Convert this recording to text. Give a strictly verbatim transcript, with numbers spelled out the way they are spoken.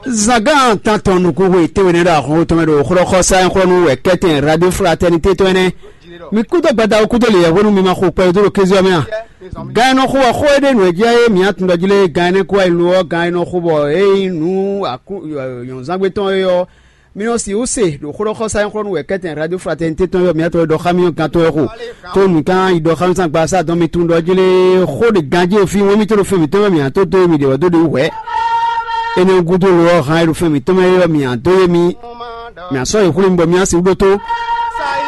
Zangán tantɔn nukúnxwe tɛnwe nɛ ɖo ahɔn tɔn mɛ ɖo xlɔ́xɔsá nyɔ́xlɔ́nú wɛ kɛ́tɛn Radio Fraternité tɔn ɛnɛ. Mi kúdó gbada kúdó lě yɛhwenu mi ma xo kpɛ dó ɖo kéze ɔ́ mɛ a? Gan e nɔ xo bɔ xó e ɖe nǔ e jɛ é mǐ atun ɖɔ jí lé, gan énɛ́ kú wá yi lo ɔ́, gan e nɔ xo bɔ é nyí nǔ akú nyɔ̌nzángbe tɔn é ɔ́, mi nɔ sixú se ɖo xlɔ́xɔsá nyɔ́xlɔ́nú wɛ kɛ́tɛn Radio Fraternité tɔn é ɔ́, mǐ atɔn e ɖɔ xá mì ɔ́ gantɔ́ wɛ xo. Tó nǔ kan yi ɖɔ xá mì sín agbaza dɔn mi tunwun ɖɔ jí lé, xó ɖe ganjí e fí wɛn mì tó ɖo fɛn mǐtɔn mɛ mǐ a tó dó mì ɖě wɛ dó ɖe wú hwɛ̌. Énɛ́ gúdo lo ɔ́, han e ɖo fɛn mǐtɔn mɛ é ɔ́, mǐ a dó yé mi. Mǐ a sɔ́ yi xwlé mi bɔ mǐ a sixú ɖótó.